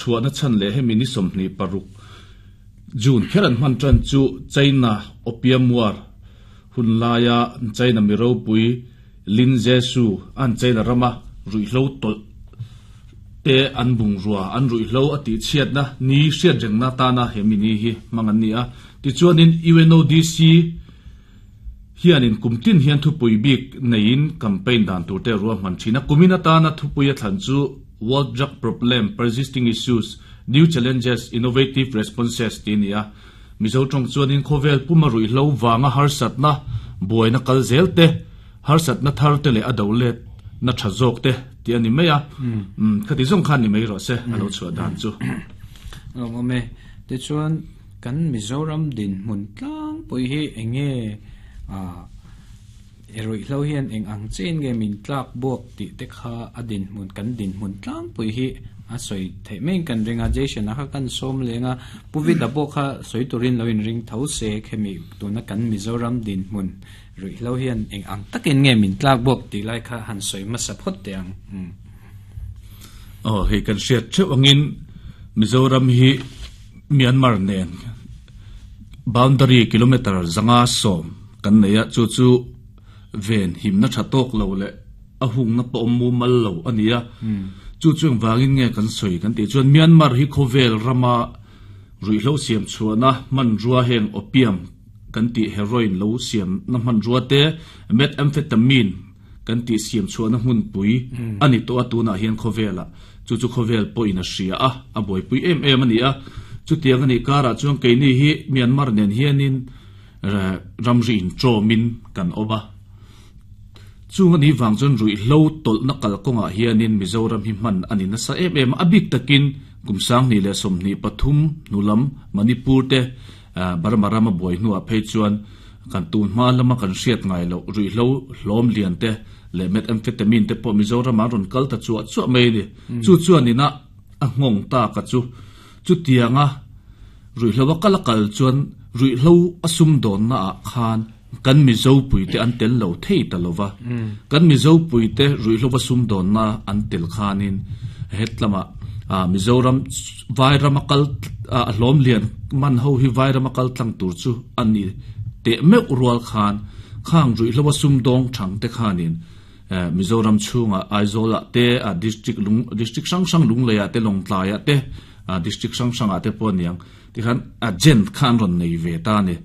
Chhuahna chhan leh hemi ni 26 June kher an hman tan chu China Opium War hun laia China mi ropui Lin Zexu an China rama ruihhlo tawlh te an bungrua an ruihhlo a tihchhiatna ni hriatrengna tana hemi ni hi hmang an ni a. Tichuanin UNODC hianin kum tin hian thupui bik neiin campaign dan tur te a ruahman thin a. Kumin atana thupui a thlan chu World Drug Problem, Persisting Issues, New Challenges, Innovative Responses tih a ni a. Mizo tawng chuanin khawvel puma ruihhlo vanga harsatna, buaina kal zel te, harsatna thar te leh a do let na tha zawk te tih a ni mai a. Khati zawng khan ni mai rawh se a lo chhuah dan chu. Lawmawm e. Tichuan kan Mizoram dinhmun tlangpui hi eng nge i ruihhlo hian eng ang chiin nge min tlak buak tih te kha a dinhmun kan dinhmun tlangpui hi a sawi theih maiin kan ring a Jason-a kha kan sawm leng a Pu Vida pawh kha sawi turin lo inring tho se khemi tuna kan Mizoram dinhmun ruihhlo hian eng ang takin nge min tlak buak tih lai kha han sawi hmasa phawt teh ang. Aw hei kan hriat theuh angin Mizoram hi Myanmar nen boundary kilometer zanga sawm kan nei a, chu chu ven himna tha tawk lo leh a hungna pawh awm mumal lo a ni a. Chu chu engvangin nge kan sawi kan tih chuan Myanmar hi khawvel rama ruihhlo siam chhuahna hmanrua heng opium kan tih heroin lo siamna hmanrua te methamphetamine kan tih siam chhuahna hmunpui a ni tawh a tunah hian khawvelah chu chu khawvel pawhin a hria a, a buaipui em em a ni a. Chutiang a nih karah chuan keini hi Myanmar nen hianin ramri intawmin kan awm a. Chung a nih vang chuan ruihhlo tawlhna kalkawngah hianin Mizoram hi hman a ni nasa em em a, a bik takin kum 2023 hnulam Manipur te Burma rama buai hnuah phei chuan kan tun hma lama kan hriat ngai loh ruihhlo hlawm lian te leh methamphetamine te pawh Mizoramah an rawn kal ta chuah chuah mai a ni. Chu chuan ina a nghawng tak a chu. Chutianga ruihhlo a kal a kal chuan ruihhlo a sumdawnna ah khan kan Mizo puite an tel lo thei ta lo va. Kan Mizo puite ruihhlo a sumdawnna an tel khanin hetlamah Mizoram Vairam a kal a hlawm lian man ho hi Vairam a kal tlang tur chu a ni teh meuh rual khan khang ruihhlo a sumdawng thang te khanin Mizoram chhungah Aizawl ah te district lung district hrang hrang Lunglei ah te Lawngtlai ah te district hrang hrang ah te pawh a niang tikhan agent kha an rawn nei ve ta a ni.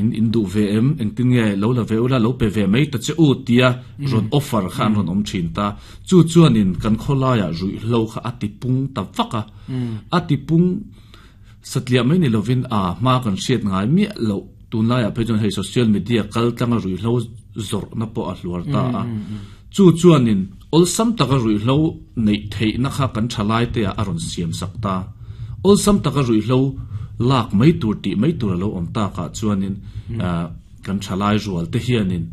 In in duh ve em engtin nge lo la ve ula lo pe ve mai ta che u tia rawn offer kha an rawn awm thin ta chu chuanin kan khawlaiah ruihhlo kha a ti pung ta vak a a ti pung satliah mai ni lovin a hma kan hriat ngai miah loh tunlaiah phei chuan hei social media kal tlanga ruihhlo zawrhna pawh a hluar ta a chu chuanin awlsam taka ruihhlo neih theihna kha kan thalai te ah a rawn siam sak ta. Awlsam taka ruihhlo lak mai tur tih mai tur a lo awm tak ah chuanin kan thalai rual te hianin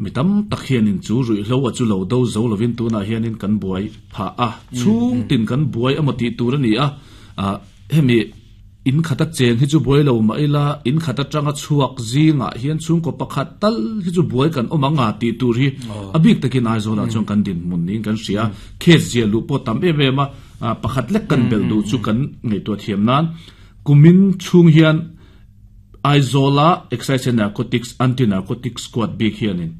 mi tam tak hianin chu ruihhlo a chu lo do zo lovin tunah hianin kan buai phah a, chhung tin kan buai emaw tih tur a ni a, hemi In khata cheng hi chu buai lo mah ila, in khat atanga chhuak zingah hian chhungkaw pakhat tal hi chu buai kan awm ang a tih tur hi a bik takin Aizawlah chuan kan dinhmun niin kan hria. Case zia luh pawh tam em em a, pakhat lek kan belh duh chu kan ngaihtuah thiam nan kumin chhung hian Aizawla Excise and Narcotics Anti-Narcotics Squad bik hianin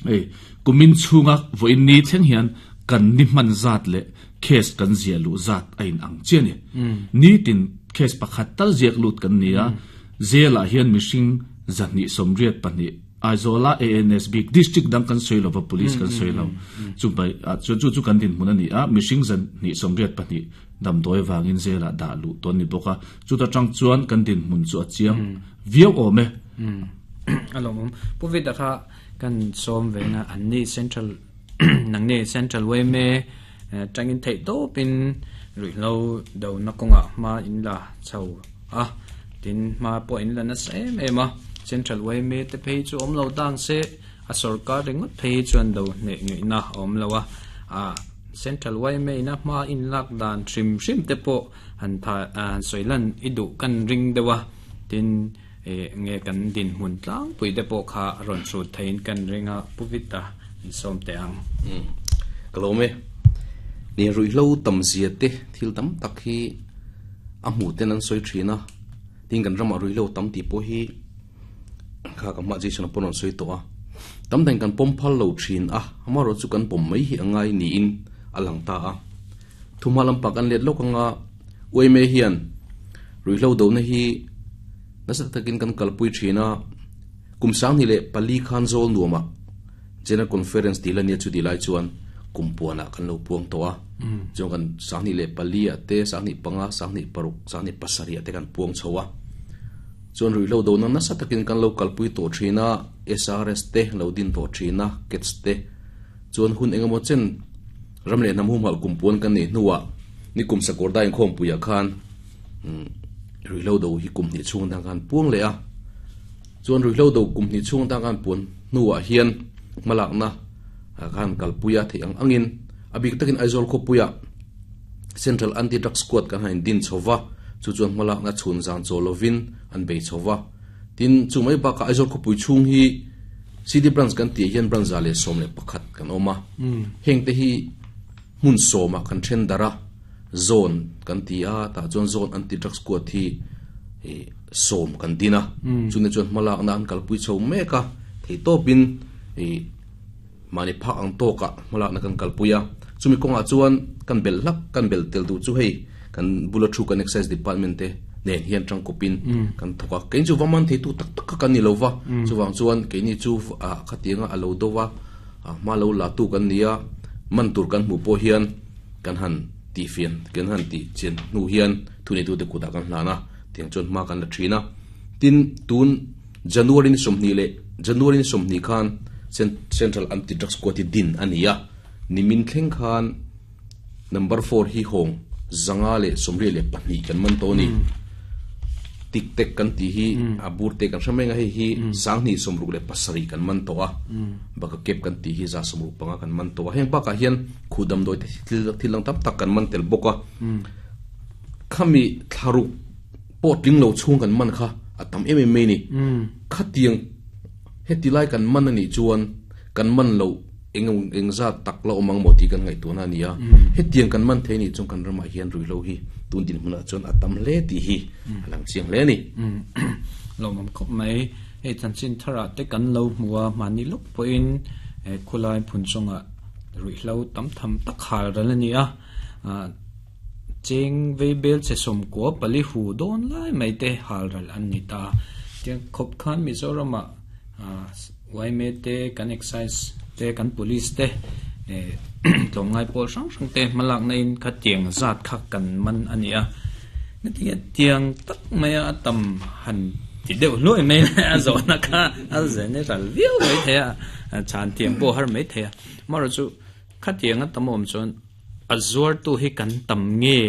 hei kumin chhunga vawiin ni thleng hian kan ni hman zat leh Case kan ziah luh zat a in ang chiah a ni. Nitin case pakhat tal ziak lut kan ni a, jail ah hian mihring 282 Aizawl ah ANS bik district dang kan sawi lova police kan sawi lo. Chu bai ah chuan chu chu kan dinhmun a ni a, mihring 282 damdawi avangin jail ah dah luh tawn ni bawk a, chuta tang chuan kan dinhmun chu a chiang viau awm e. A lawmawm. Pu Vida kha kan sawm ve nga an ni central Nang ni Central yma tangin theih tawpin ruihhlo dona kawngah hma in la chho a, tin hma pawh in la nasa em em a, Central yma te phei chu awm lo dang se a sorkar ringawt phei chuan do hneh ngaihna a awm lo a, ah Central yma ina hma in lak dan hrim hrim te pawh han tha han sawi lan i duh kan ring deuh a, tin Ih nge kan dinhmun tlangpui te pawh kha a rawn hrut theiin kan ring a, Pu Vita in sawm teh ang. Umm ka lawm e. Ni ruihhlo tam zia te thil tam tak hi a hmuh ten an sawi thin a, tin kan ramah ruihhlo tam tih pawh hi kha ka hma Jason-a pawh rawn sawi tawh a, tam dahin kan pawm phal lo thin a, amaherawhchu chu kan pawm mai hi a ngai niin a lang ta a. Thumha lampang kan let lawk anga UMA hian ruihhlo dohna hi nasa takin kan kalpui thin a, kum 2004 khan zawl nuamah General Conference tih la nia chu tih lai chuan kum puanah kan lo puang tawh a, chuan kan 2004 ah te, 2005, 2006, 2007 ah te kan puang chho a. Chuan ruihhlo dohna nasa takin kan lo kalpui tawh thin a, SRS te lo din tawh thin a, CATS te. Chuan hun engemaw chen ram leh hnam humhalh kum puan kan neih hnuah nikum Sakawrda inkhawmpuiah khan ruihhlo do hi kum hnih chhung atang khan puang leh a. Chuan ruihhlo do kum hnih chhung atang khan puan hnuah hian hmalakna khan kalpui a theih ang angin a bik takin Aizawl khawpuiah Central Anti-Drug Squad kan han indin chho va, chu chuan hmalakna chhun zan chaw lovin an bei chho va. Tin, chu mai bakah Aizawl khawpui chhung hi CD Branch kan tih ah hian branch 111 kan awm a. Hengte hi hmun sawmah kan then darh a, zone kan ti a, tah chuan zone anti-drug squad hi sawm kan din a. Chune chuan hmalakna an kalpui chho mek a, theihtawpin mahni phak ang tawkah hmalakna kan kalpui a. Chumi kawngah chuan kan belh hlak, kan belh tel duh chu hei kan bula thu kan excise department te nen hian tangkawpin kan thawk a. Keini chu va man theitu tak tak kha kan ni lo va, chuvang chuan keini chu khatianga a lo do va, hma lo la tu kan ni a, man tur kan hmuh pawh hian kan han tihfian, kan han tih chian hnu hian thuneitute kutah kan hlan a, tiang chuan hma kan la thin a. Tin, tun January ni sawmhnih leh January ni sawmhnih khan Central Anti-Drug Squad hi din a ni a, nimin thleng khan Number four hi hawng 522 kan man tawh a ni. Tik tek kan tih hi a bur te kan hre mai ang a, hei hi 267 kan man tawh a, baka kep kan tih hi 165 kan man tawh a. Heng bakah hian khuh damdawi te thil dang tam tak kan man tel bawk a. Khami thlaruk pawh tling lo chhung kan man kha a tam em em mai a ni. Khatiang heti lai kan man a nih chuan kan man loh Eng eng zat tak la awm ang maw tih kan ngaihtuahna a ni a. Hetiang kan man thei nih chuan kan ramah hian ruihhlo hi tun dinhmunah chuan a tam hle tih hi a lang chiang hle a ni. Lawmawm khawp mai. Hei chanchin tharah te kan lo hmu a, mahni lawk pawhin khulai phun chungah ruihhlo tam tham tak hal ral a ni a. Cheng vei bel che sawmkua pali hu dawn lai mai te hal ral an ni ta. Tiang khawp khan Mizoramah Yma te, kan excise te, kan police te tlawmngai pawl hrang hrang te hmalakna in kha tiang zat kha kan man a ni a. Hetiang tiang tak maia a tam han ti deuh hluai mai le a zawhna kha a zen ral viau mai thei a, chhan tiang pawh har mai thei a. Amaherawhchu khatiang a tam awm chuan a zuartu hi kan tam nge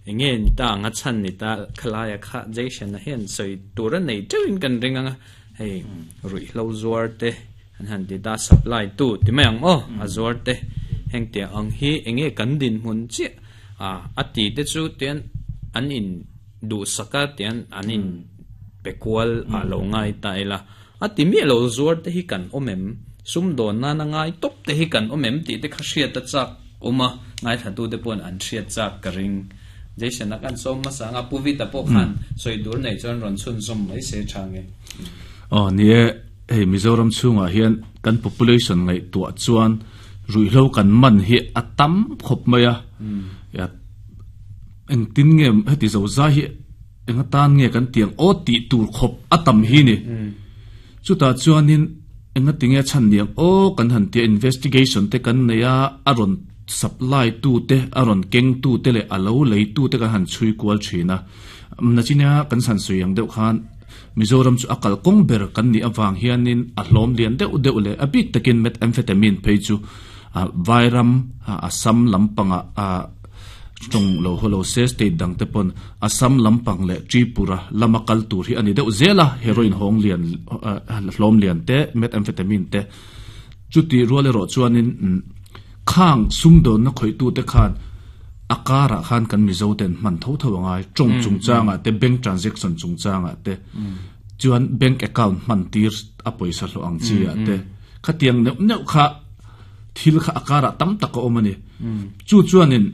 Enge ni ta anga chhan ni ta khalaia kha Jason-a hian sawi tur a nei teuhin kan ring ang a, hei ruihhlo zuar te an han ti ta supply tu ti mai ang aw a zuar te heng tiang ang hi enge kan dinhmun chiah a a ti te chu tian an in duhsak a tian an in pe kual ah lo ngai ta ila a ti miah lo zuar te hi kan awm em sumdawn nana ngai tawp te hi kan awm em tih te kha hriat a chak awm a, ngaithlatute pawhin an hriat chak ka ring. Jason-a khan sawm hmasa anga Pu Vita pawh khan sawi dur nei chuan rawn chhunzawm mai se tha nge. Aw ni e, hei Mizoram chhungah hian kan population ngaihtuah chuan ruihhlo kan man hi a tam khawp mai a, engtin nge heti zo zai hi Enga tan nge kan tiang aw tih tur khawp a tam hi ni. Chutah chuanin enga tinge a chhan niang aw kan han tia investigation te kan nei a, a rawn supply tu te, a rawn keng tu te leh a lo lei tu te kan han chhui kual thin a. Nachina kan san sawi ang deuh khan Mizoram chu a kalkawng ber kan nih avang hianin a hlawm lian deuh deuh leh a bik takin methamphetamine phei chu Vairam, Assam lampangah a Tawng lo haw lo se state dang te pawn Assam lampang leh Tripura lama kal tur hi a ni deuh zel a, heroin hawng lian hlawm lian te, methamphetamine te chutih rual erawh chuanin khang sumdawnna khawihtute khan a karah khan kan Mizo ten hman tho tho a ngai, tawng chungchangah te, bank transaction chungchangah te chuan bank account hman tir a pawisa hlawh ang chi ah te khatiang neuh neuh kha. Thil kha a karah tam tak a awm a ni. Chu chuanin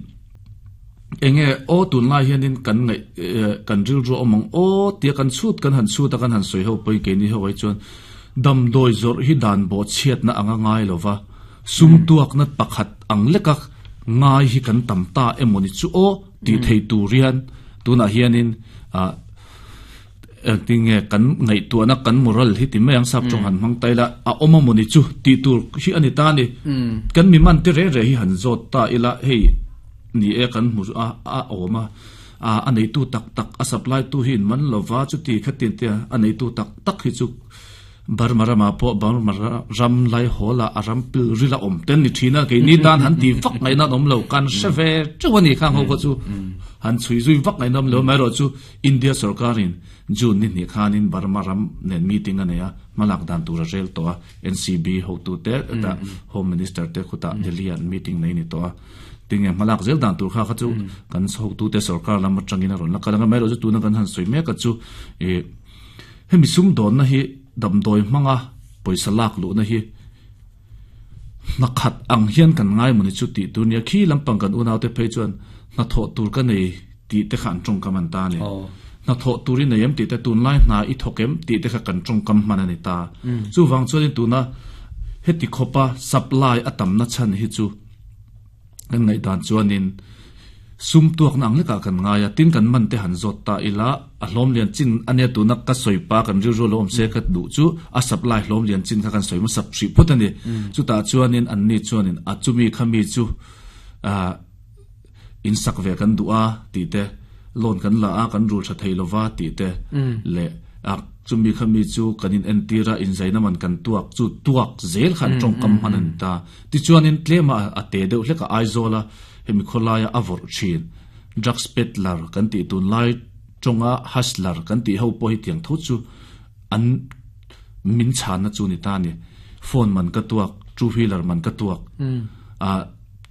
enge aw tunlai hianin kan ngaih kan rilru a awm ang aw tia kan chhut kan han chhut a kan han sawi ho pawhin keini ho ai chuan damdawi zawrh hi dan bawhchhiatna anga ngai lo va, sum tuakna pakhat ang leka ngai hi kan tam ta emaw ni chu aw tih theih tur hian tunah hianin ah Engtin nge kan ngaihtuahna kan moral hi ti mai ang sap tawng han hmang ta ila a awm a mawni chu tih tur hi a ni ta a ni. Kan mi man te reng reng hi han zawt ta ila hei ni e kan hmu a a awm a a neitu tak tak a supply tu hi in man lova chuti khatin te a neitu tak tak hi chu Burma ramah pawh Burma ram laihawl ah a ram pil ril a awm ten ni thin a, keini tan han ti vak ngaihna an awm lo, kan hre ve teuh a ni khang ho kha chu han chhui zui vak ngaihna awm lo, amaherawhchu India sorkarin June ni hnih khanin Burma ram nen meeting a nei a, hmalak dan tur a rel tawh a, NCB hotute hetah Home Minister te khutah Delhi ah an meeting nei ni tawh a, tinge hmalak zel dan tur kha kha chu kan hotute sorkar lam atangin a rawn la kal ang a, amaherawhchu tuna kan han sawi mek a chu ih. Hemi sumdawnna hi damdawi hmanga pawisa lak luhna hi hna khat ang hian kan ngai mawni chu tih tur nia. Khi lampang kan unaute phei chuan hnathawh tur ka nei tih te kha an tawngkam an ta a ni. Hnathawh tur i nei em tih te, tunlai hna i thawk em tih te kha kan tawngkam hman a ni ta. Chuvang chuanin tuna heti khawpa supply a tamna chhan hi chu Kan ngaihdan chuanin sum tuakna ang lekah kan ngai a, tin kan man te han zawt ta ila, a hlawm lian chin a nia tuna ka sawi pa kan rilru lo awm se ka duh chu a supply hlawm lian chin kha kan sawi hmasa hrih phawt a ni. Chutah chuanin anni chuanin a chumi kha mi chu ah in sak ve kan duh a tih te, loan kan la a kan rul tha thei lova tih te leh a Chumi kha mi chu kan in entir a, inzaina man kan tuak chu tuak zel khan tawngkam hman a ni ta. Tichuanin tlema a te deuh hlek a Aizawl a hemi khawlaia a vawrh thin. Drugs peddler kan tih tunlai tawnga hustler kan tih ho pawh hi tiang tho chu an min chhanna chu ni ta a ni. Phone man ka tuak, two wheeler man ka tuak, ah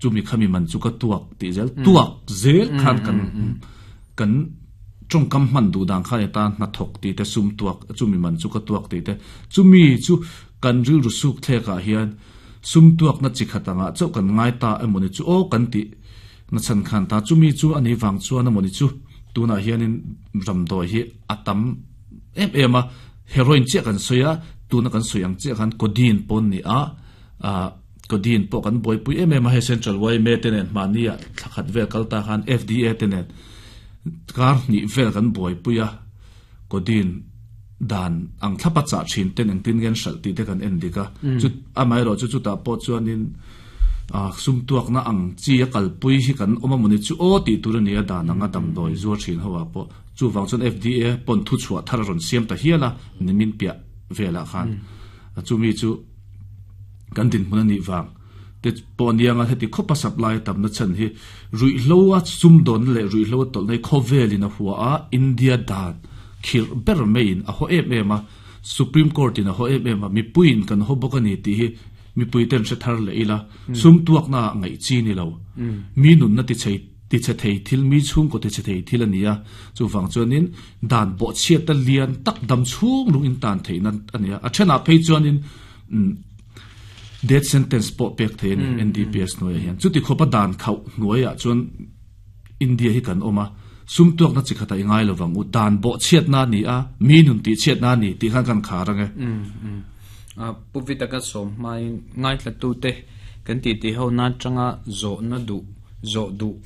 chumi khami man chu ka tuak tih zel tuak zel khan kan kan Tawngkam hman duh dan kha eta hnathawk tih te, sum tuak, chumi man chu ka tuak tih te, chumi chu kan rilru suk thlek ah hian sum tuakna chi khat angah chauh kan ngai ta emawni chu aw kan tih na chhan khan ta, chumi chu a nih vang chuan emawni chu tunah hianin ramdawi hi a tam em em a, heroin chiah kan sawi a, tuna kan sawi ang chiah khan codeine pawn ni a, ah codeine pawh kan buaipui em em a, hei Central yma te nen mahni ah thla khat vel kal ta khan FDA te nen. Kar hnih vel kan buaipui a, codeine dan ang thlapa chah thin ten engtin nge an hralh tih te kan en dik a. Chu amaherawh chu chutah pawh chuanin sum tuakna ang chi a kalpui hi kan awm a mawni chu aw tih tur a ni a, dan anga damdawi zuar thin ho ah pawh. Chuvang chuan FDA pawn thuchhuah thar a rawn siam ta hial a, nimin piah velah khan. Chumi chu kan dinhmun a nih vang. Te pawh aniang a, heti khawpa supply a tamna chhan hi ruihhlo a sumdawnna leh ruihhlo a tawlhna hi khawvelin a hua a, India dan khirh ber maiin a haw em em a, Supreme Court in a haw em em a, mipuiin kan haw bawk a ni tih hi mipui ten hre thar leh ila, sum tuakna ah ngaih chi ni lo, mi nunna ti chei ti chhe thei thil, mi chhungkaw ti chhe thei thil a ni a, chuvang chuanin dan bawhchhiata lian tak dam chhung lung in tan theihna a ni a, a thenah phei chuanin Death sentence pawh pek thei a ni NDPS hnuaiah hian. Chuti khawpa dan khauh hnuaiah chuan India hi kan awm a, sum tuakna chi khatah i ngai lo vang u, dan bawhchhiatna a ni a, mi nun tihchhiatna a ni tih khan kan khar ang e. Pu Vitaka sawm hmain ngaithlatute kan titi ho na atanga zawhna duh, zawh duh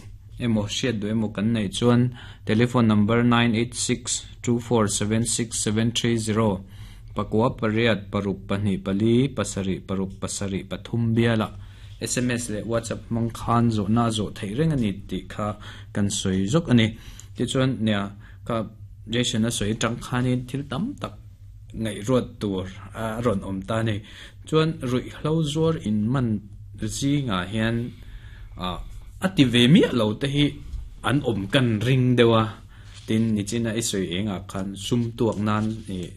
emaw hriat duh emaw kan neih chuan telephone number 9862476730 Pakua pariat paruk pahnih pali pasarih paruk pasarih pathum bialah sms leh whatsapp hmang khan zawhna a zawh theih reng a ni tih kha kan sawi zawk a ni. Tichuan nia kha Jason a sawi atang khanin thil tam tak ngaihruat tur a rawn awm ta a ni. Chuan ruihhlo zuar in man zingah hian a ti ve miah lo te hi an awm kan ring deuh a. Tin, nichina i sawi engah khan sum tuak nan ih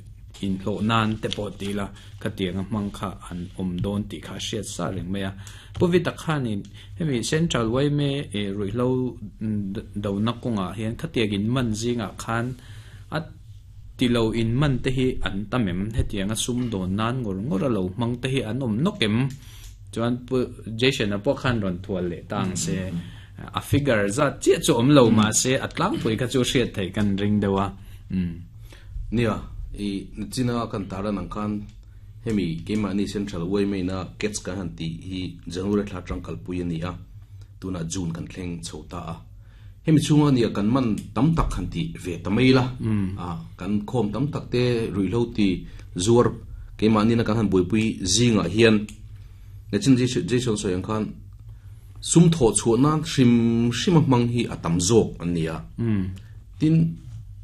inhlawh nan te pawh ti ila khatianga hmang kha an awm dawn tih kha a hriat sa reng mai a. Pu Vita khanin hemi Central yma ih ruihhlo dona kawngah hian khatiang in man zingah khan a ti lo in man te hi an tam em? Hetianga sum dawn nan ngawr ngawr a lo hmang te hi an awm nawk em? Chuan Pu Jason-a pawh khan rawn thual leh ta ang se, a figure zat chiah chu awm lo mahse a tlangpui kha chu hriat theih kan ring deuh a. Nia, i nachina kan tarlan ang khan hemi keimahni Central Uaimei-na Cats kan han tih hi January thla atang kalpui a ni a, tunah June kan thleng chho ta a. Hemi chhunga nia kan man tam tak han ti ve ta mai la, kan khawm tam tak te ruihhlo ti zuar keimahni-na kan han buaipui zingah hian Nachin Jason sawi ang khan sum thawh chhuah nan hrim hrim a hmang hi a tam zawk an ni a. Tin,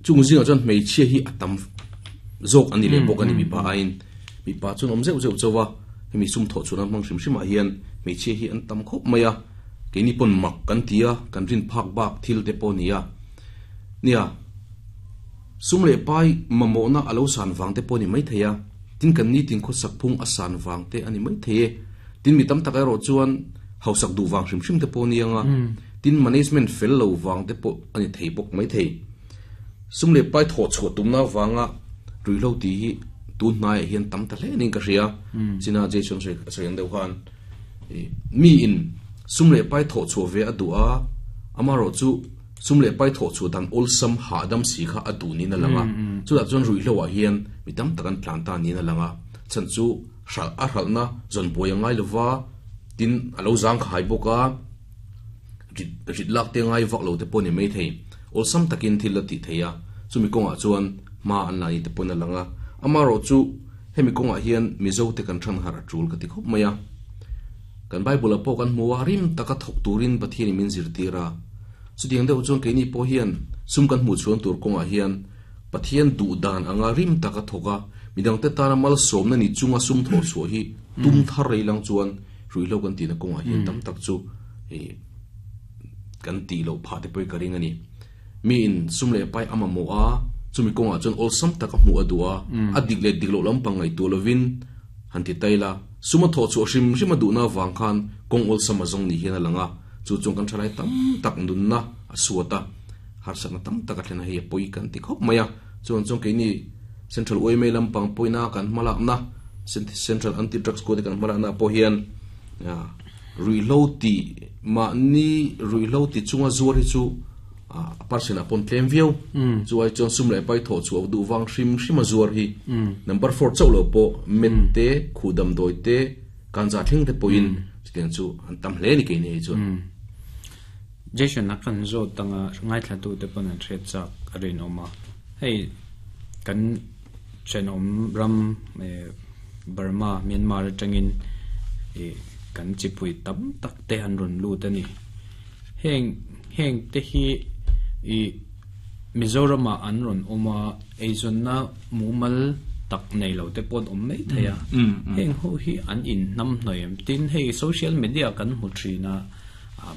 chung zingah chuan hmeichhia hi a tam zawk an ni leh bawk a ni mipa aiin. Mipa chuan awm zeuh zeuh chauh a, hemi sum thawh chhuah nan hmang hrim hrimah hian hmeichhia hi an tam khawp mai a. Keini pawn mak kan ti a, kan rin phak bak thil te pawh a ni a. Nia, sum leh pai mamawhna a lo san vang te pawh a ni maithei a, tin kan nitin khawsak phung a san vang te a ni maithei e. Tin mi tam tak erawh chuan hausak duh vang hrim hrim te pawh a ni ang a, tin management fel lo vang te pawh a ni thei bawk maithei. Sum leh pai thawh chhuah tumna avanga ruihhlo tih hi tun hnaiah hian tam ta hle niin ka hria. China Jason sawi ang deuh khan. Miin sum leh pai thawh chhuah ve a duh a, amaherawh chu sum leh pai thawh chhuah dan awlsam hahdam si kha a duh niin a lang a. Chutah chuan ruihhloah hian mi tam tak an tlan ta niin a lang a, chhan chu hralh a hralhna zawn buai a ngai lova, tin a lo zangkhai bawk a, rit rit lak te ngai vak lo te pawh a ni maithei. Awlsam takin thil a tih theih a, chumi kawngah chuan hma an la ni te pawhin a lang a, amaherawh chu Hemi kawngah hian Mizote kan than harh a tul ka ti khawp mai a. Kan Bible-ah pawh kan hmu a, rim taka thawk turin Pathianin min zirtir a. Chutiang deuh chuan keini pawh hian sum kan hmuh chhuan tur kawngah hian Pathian duh dan anga rim taka thawk a, midangte tana malsawmna ni chunga sum thawh chhuah hi tum thar rei lang chuan ruihhlo kan tihna kawngah hian tam tak chu kan tih loh phah te pawh hi ka ring a ni. Miin sum leh pai a mamawh a, chumi kawngah chuan awlsam tak a hmuh a duh a, a dik leh dik loh lampang ngaihtuah lovin han ti tai la, sum a thawh chhuah hrim hrim a duhna avang khan kawng awlsam a zawng ni hian a lang a, chu chuan kan thalai tam tak nunna a suat a, harsatna tam tak a thlen a, hei a pawi kan ti khawp mai a, chuan chuan keini Central yma lampang pawina kan hmalakna, Central Anti Drugs Squad kan hmalakna pawh hian Ruihhlo ti mahni ruihhlo ti chunga zuar hi chu a percent ah pawn tlem viau. Chu ai chuan sum leh pai thawh chhuah duh vang hrim hrim a zuar hi number four chauh lo pawh met te, khuh damdawi te, kanza thleng te pawhin chutiang chu an tam hle a ni keini hei chuan. Jason a kan zawt anga ngaithla te pawn an hriat chak a rinawm a. Hei kan thenawm ram Burma, Myanmar atangin ih kan chipui tam tak te an rawn lut a ni. Heng heng te hi ih Mizoramah an rawn awm a, eizawnna mumal tak nei lo te pawh an awm mai thei a. Heng ho hi an inhnamhnawih em? Tin, hei social media kan hmu thin a,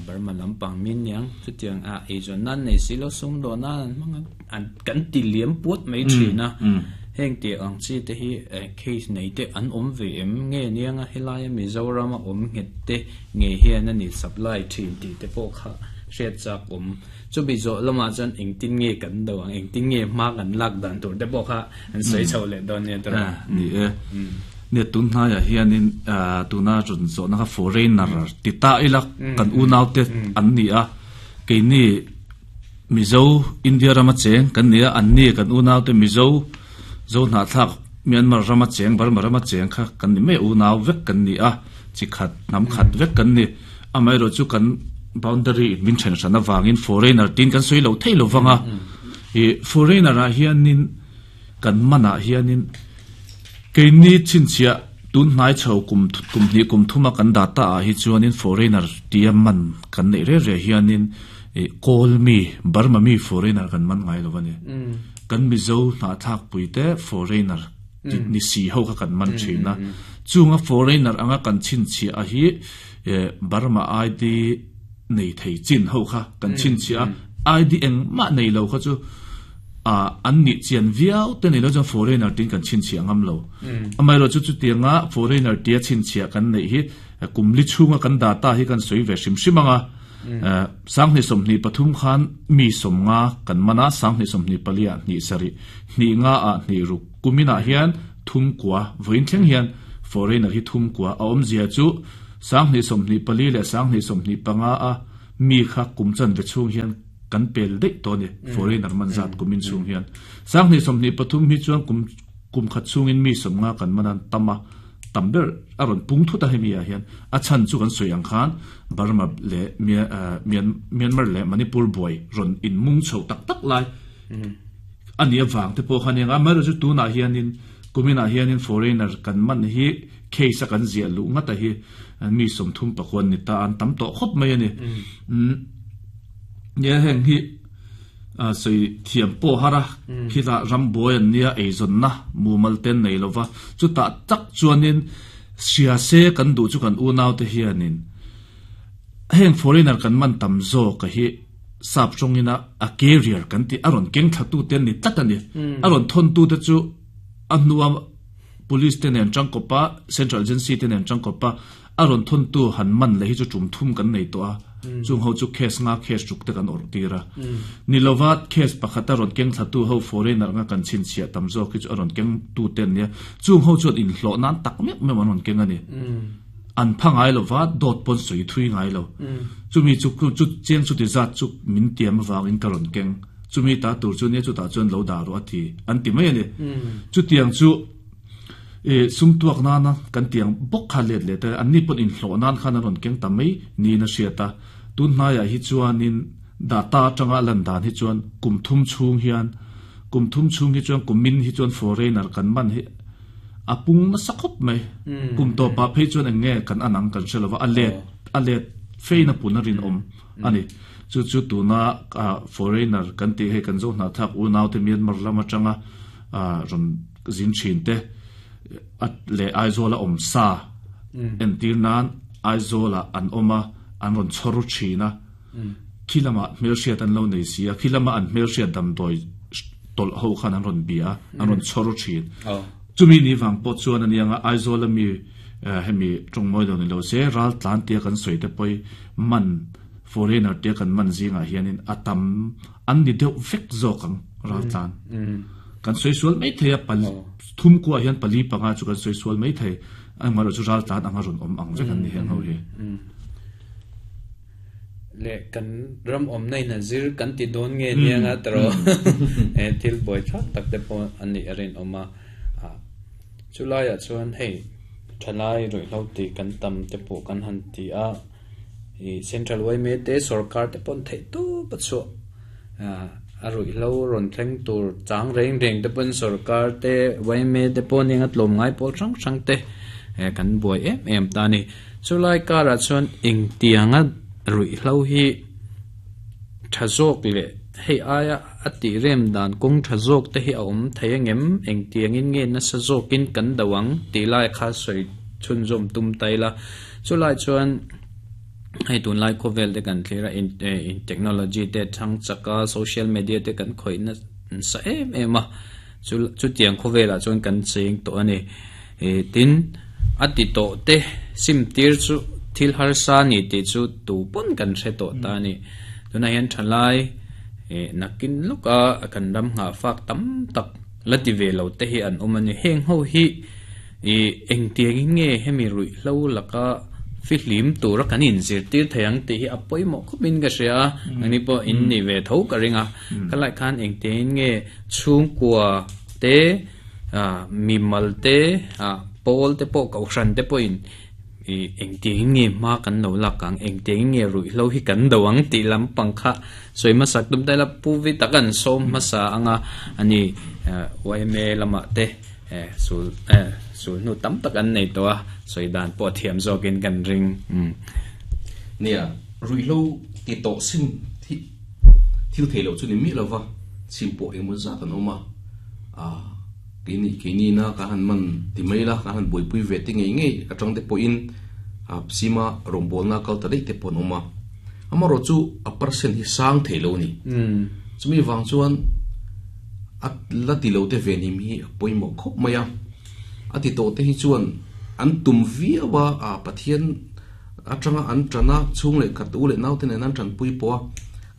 Burma lampang min niang chutiang a eizawnna an nei si lo sumdawnna an hmang a an kan ti liam puat mai thin a heng tih ang chi te hi case nei te an awm ve em nge niang a helai a Mizoram a awm nghet te nge hian a ni supply thin tih te pawh kha hriat chak awm chumi zawh lamah chuan engtin nge kan do ang engtin nge hma kan lak dan tur te pawh kha an sawi chho leh dawn nia tawrh ni e. Nia tun hnaiah hianin tuna rawn zawhna kha foreigner ti ta ila kan unaute an ni a, keini Mizo India rama cheng kan ni a, anni kan unaute Mizo Zo hnahthlak Myanmar rama cheng Burma rama cheng kha kan ni mai a, unau vek kan ni a, chi khat hnam khat vek kan ni. Amaherawhchu chu kan boundary in min then hran avangin foreigner tiin kan sawi lo thei lo vang a, ih foreigner ah hianin kan manah hianin Keini chhinchhiah tun hnai chho kum kum hnih kum thuma kan data ah hi chuanin foreigner tia man kan neih reh reh hianin ih kawl mi Burma mi foreigner kan man ngai lo a ni. Kan Mizo hnahthlak pui te foreigner tih ni si ho kha kan man thin a. Chunga foreigner anga kan chhinchhiah a hi eh Burma ID nei thei chin ho kha kan chhinchhiah a, ID engmah nei lo kha chu ah an nih chian viau te nei lo chuan foreigner tiin kan chhinchhiah ngam lo. Amaherawh chu chutianga foreigner tia chhinchhiah kan neih hi kum li chhunga kan data hi kan sawi ve hrim hrim ang a, sanghnih 23 khan mi 50 kan man a, sanghnih 24 ah hnih sarih, hnih nga ah hnih ruk kuminah hian thum kua vawiin thleng hian foreigner hi thum kua a awmzia chu. 2024 leh 2025 a mi kha kum chanve chhung hian kan pel daih tawh a ni, foreigner man zat kumin chhung hian. 2023 hi chuan kum kum khat chhungin mi 50 kan man a tam a, tam ber a rawn pung thut a hemi ah hian. A chhan chu kan sawi ang khan Burma leh Myanmar leh Manipur buai rawn inmung chho tak tak lai a nih avang te pawh kha a ni ang a. Amaherawhchu tunah hianin kuminah hianin foreigner kan man hi case a kan ziah luh ngat a hi mi 39 an ni ta a, an tam tawh khawp mai a ni. Nia heng hi sawi thiam pawh har a, khitah rambuai an nia eizawnna mumal te an nei lo va, chutah tak chuanin hria se kan duh chu kan unaute hianin heng foreigner kan man tam zawk a hi sap tawngina a carrier kan tih a rawn keng thlatute an ni tlat a ni. A rawn thawntute chu a hnua Police te nen tangkawpa, Central Agency te nen tangkawpa a rawn thawntu han man leh hi chu tum thum kan nei tawh a, chung ho chu case nga case ruk te kan awrh tir a. Ni lova case pakhat a rawn keng thlatu ho foreigner anga kan chhinchhiah tam zawk hi chu a rawn keng tu te an nia, chung ho chuan inhlawh nan tak meuh meuh an rawn keng a ni. An pha ngai lova dawt pawn sawi thui ngai lo. Chumi chu chu cheng chuti zat chu min tiam avangin ka rawn keng. Chumi ta tur chu nia chutah chuan lo dah rawh a ti an ti mai a ni. Chutiang chu i sum tuak nana kan tiang bawk kha let leh ta anni pawn inhlawh nan khan an rawn keng ta mai niin a hriat a. Tun hnaiah hi chuanin data atanga a lan dan hi chuan kum thum chhung hian kum thum chhung hi chuan kumin hi chuan foreigner kan man hi a pung nasa khawp mai. Kum tawpah phei chuan eng nge kan an ang kan hre lova a let a let fein a pun a rinawm a ni. Chu chu tuna foreigner kan tih hei kan zo hnahthlak unaute Myanmar lam atanga rawn zin thin te leh Aizawl a awm sa entir nan Aizawl ah an awm a, an rawn chhawr thin a, khi lamah hmelhriat an lo nei si a, khi lama an hmelhriat damdawi tawlh ho khan an rawn bia a, an rawn chhawr thin. Chumi ni vang pawh chuan a niang a, Aizawl ami hemi tawngmawi lo ni lo se raltlan tia kan sawi te pawh hi man Foreigner te kan man zingah hianin a tam an ni deuh vek zawk ang raltlan. Kan sawi sual mai thei a, pali thum kuah hian pali panga chu kan sawi sual mai thei. Engmah chu raltlan anga rawn awm ang vek an ni heng ho hi. Le kan ram awm na in a zir kan ti dawn nge nia nga tawh e thil buai thlak tak te pawh an nih a rinawm a. Chulaiah chuan hei thalai ruihhlo tih kan tam te pawh kan han ti a. I central yma te sorkar te pawn theih tawp a chhuah a ruihhlo rawn thleng tur chang reng reng te pawn sorkar te yma te pawh nia tlawm ngai pawl hrang hrang te kan buai em em ta a ni chulai karah chuan engtianga ruihhlo hi tha zawk leh hei aia a tih rem dan kawng tha zawk te hi a awm thei angem engtiangin nge nasa zawkin kan do ang tih lai kha sawi chhunzawm tum ta ila. Chulai chuan hei tunlai khawvel te kan thlir a in in technology te thang chak a social media te kan khawih nasa em em a chu chutiang khawvelah chuan kan cheng tawh a ni ih tin a ti tawh te sim tir chu thil harsa a ni tih chu tu pawn kan hre tawh ta a ni tunah hian thalai ih nakin lawk a kan ram nghah fak tam tak la ti ve lo te hi an awm a ni heng ho hi. I engtiangin nge hemi ruihhlo laka fihlim tura kan inzirtir thei ang tih hi a pawimawh khawpin ka hria a, nangni pawh in nih ve tho ka ring a. Ka lai khan engtiangin nge chhungkua te, mimal te, pawl te pawh kohhran te pawhin i engtiangin nge hma kan lo lak ang, engtiangin nge ruihhlo hi kan do ang tih lampang kha sawi hmasak tum ta ila Pu Vi tak an sawm hmasa anga ani yma lamah te. Sul sul hnu tam tak an nei tawh a, sawi dan pawh thiam zawkin kan ring. Nia, ruihhlo ti tawh sim hi thil thei loh chu ni miah lova, chhim pawh engemaw zat an awm a, keini keini na ka han man ti mai la, ka han buaipui ve te ngei ngei atang te pawhin sima rawngbawlna kal ta daih te pawh an awm a, amaherawhchu chu a percent hi sang thei lo a ni. Chumi vang chuan. A la ti lo te venhim hi a pawimawh khawp mai a, a ti tawh te hi chuan an tum viau a, a Pathian atanga an tan a, chhung leh khat u leh naute nen an tanpui pawh a,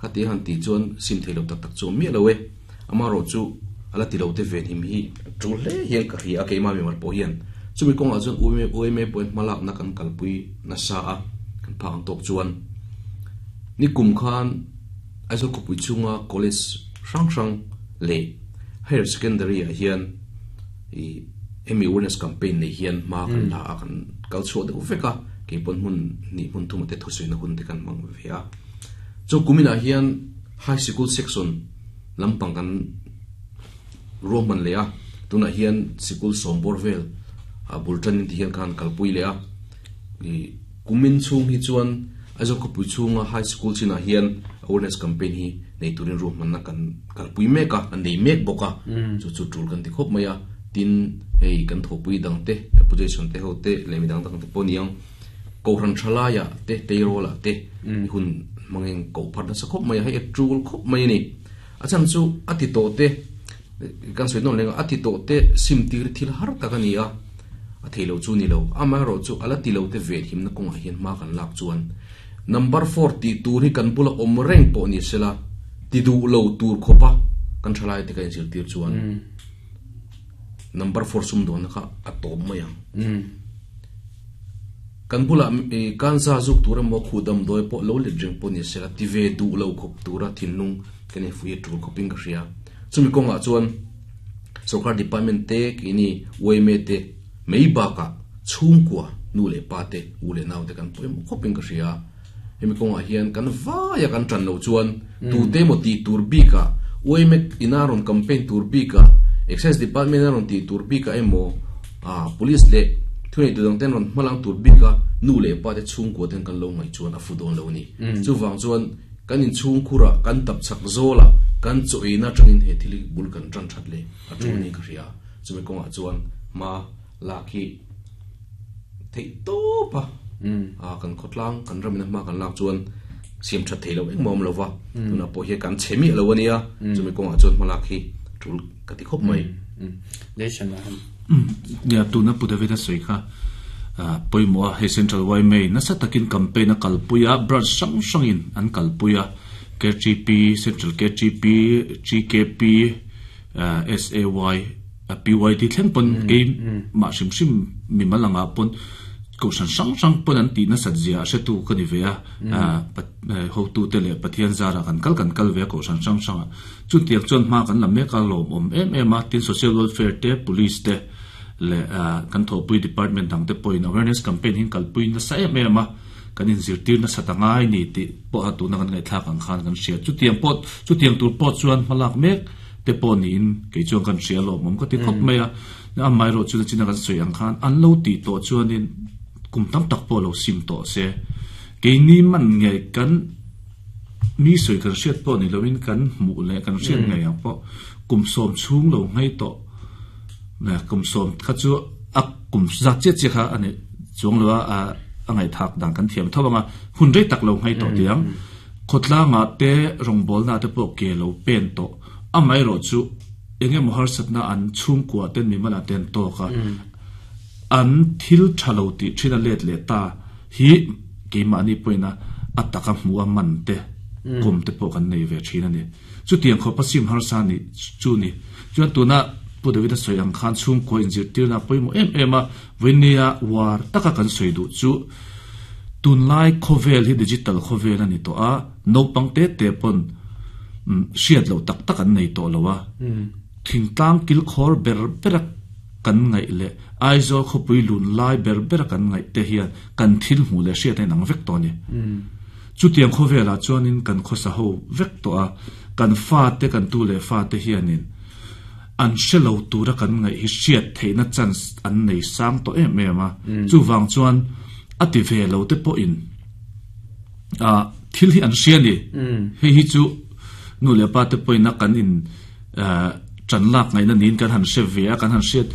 khati a han tih chuan sim thei lo tak tak chu a awm miah lo e, amaherawhchu a la ti lo te venhim hi tul hle hian ka hria a, keimah mimal pawh hian Chumi kawngah chuan yma yma pawhin hmalakna kan kalpui nasa a, kan phak ang tawk chuan nikum khan Aizawl khawpui chhunga college hrang hrang leh higher secondary ah hian ih hemi awareness campaign nei hian hma kan la a, kan kal chhuah deuh vek a, keipawn hmun hnih hmun thum te thusawina hun te kan hmang ve a. Chu kuminah hian high sikul section lampang kan ruahman leh a, tunah hian sikul sawm bawr vel ah bul tanin ti hian khan kalpui leh a, ih kumin chhung hi chuan Aizawl khawpui chhunga high school chinah hian awareness campaign hi nei turin ruahmanna kan kalpui mek a, an nei mek bawk a, chu chu tul kan ti khawp mai a, tin hei kan thawhpui dang te opposition te ho te leh midang dang te pawh niang Kohhran thalaiah te teirawlah te hun hmangin koh phat nasa khawp mai a, hei a tul khawp mai a ni. A chhan chu a ti tawh te kan sawi nawn leng a, a ti tawh te sim tir thil har tak a ni a, a thei lo chu ni lo. Amaherawh chu a la ti lo te venhimna kawngah hian hma kan lak chuan number four tih tur hi kan bula awm reng pawh ni sela ti duh lo tur khawpa kan thalai te ka inzirtir chuan number four sumdawnna kha a tawp mai ang. Kan bulah kanza zuk tur emaw khuh damdawi pawh lo let reng pawh ni sela ti ve duh lo khawp tura thinlung kan infuih a tul khawpin ka hria. Chumi kawngah chuan sorkar department te keini yma te mai bakah chhungkua nu leh pa te u leh nau te kan pawimawh khawpin ka hria. Hemi kawngah hian kan vaia kan tan loh chuan tute emaw tih tur bikah yma ina rawn campaign tur bikah Excise department a rawn tih tur bikah emaw Police leh thuneitu dang ten rawn hmalang tur bika nu leh pa te chhungkua ten kan lo ngaih chuan a fu dawn lo a ni. Chuvang chuan kan inchhungkhurah kan tap chak zawlah kan chaw eina atangin he thil hi bul kan tan that leh a tul niin ka hria. Chumi kawngah chuan hma lak hi theih tawp a, kan khawtlang kan ramina hma kan lak chuan siam that theih loh engmah a awm lo va, tunah pawh hian kan chhe miah lo a nia, chumi kawngah chuan hma lak hi tul ka ti khawp mai. Nia tuna Pu David a sawi kha pawimawh a, hei Central yma nasa takin campaign a kalpui a, branch hrang hrangin an kalpui a, KTP, Central KTP, GKP, SAY, PYD thleng pawn kei mah hrim hrim mimal angah pawn kohhran hrang hrang pawn an tih nasat zia a hretu ka ni ve a, hotu te leh Pathian zarah kan kal kan kal ve a kohhran hrang hrangah. Chutiang chuan hma kan la mek a lawmawm em em a, tin social welfare te, police te leh kan thawhpui department dang te pawhin awareness campaign hi an kalpui nasa em em a, kan inzirtir nasa ta ngai ni tih pawh a tuna kan ngaihthlak ang khan kan hria. Chutiang pawh chutiang tur pawh chuan hmalak mek te pawh niin kei chuan kan hria lawmawm ka ti khawp mai a, amaherawh chu nachina kan sawi ang khan an lo tih tawh chuanin kum tam tak pawh lo sim tawh se, keini man nge kan Mi sawi kan hriat pawh ni loin kan hmuh leh kan hriat ngei ang pawh kum sawm chhung lo nghei tawh kum sawm kha chu a kum zat chiah chiah kha a ni chuang lo a a ngaihthak dan kan thiam tho ang a hun rei tak lo nghei tawh tih ang khawtlangah te rawngbawlna te pawh ke lo pen tawh amaherawh chu eng emaw harsatna an chhungkua ten mimal ah te an tawk a an thil tha lo tih thin a let leh ta hi keimahni pawhin a a taka hmuh a man te kum te pawh kan nei ve thin a ni. Chutiang khawpa sim harsa ni chu ni. Chuan tuna Pu David-a sawi ang khan chhungkua inzirtirna a pawimawh em em a, vawinia uar taka kan sawi duh chu tunlai khawvel hi digital khawvel a ni tawh a, naupang te te pawn hriat loh tak tak an nei tawh lo a, thingtlang kilkhawr ber ber a kan ngaih leh Aizawl khawpui lun lai ber bera kan ngaih te hian kan thil hmuh leh hriat a inang vek tawh a ni. Chutiang khawvelah chuanin kan khawsa ho vek tawh a, kan fate kan tu leh fate hianin an hre lo tura kan ngaih hi hriat theihna chance an nei sang tawh em em a. Chuvang chuan a ti ve lo te pawhin thil hi an hria a ni. Hei hi chu nu leh pa te pawhin a kan in Ṭan lak ngaihna niin kan han hre ve a, kan han hriat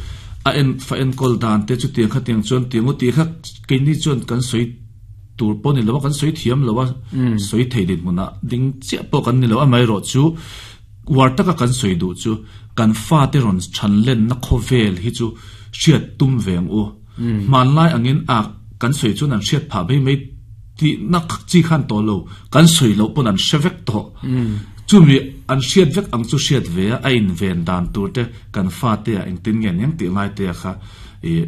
a en fa enkawl dan te chutiang khatiang chuan tiang u tih kha keini chuan kan sawi tur pawh ni lo a, kan sawi thiam lo a, sawi thei dinhmunah ding chiah pawh kan ni lo. Amaherawh chu uar taka kan sawi duh chu kan fate rawn chhan lenna khawvel hi chu hriat tum ve ang u. Hmanlai angin a kan sawi chuan an hriat phah mai mai tihna chi khan tawh lo, kan sawi loh pawn an hre vek tawh. Chumi an hriat vek ang chu hriat ve a, a inven dan tur te kan fate ah engtin nge an eng tih ngai te a kha ih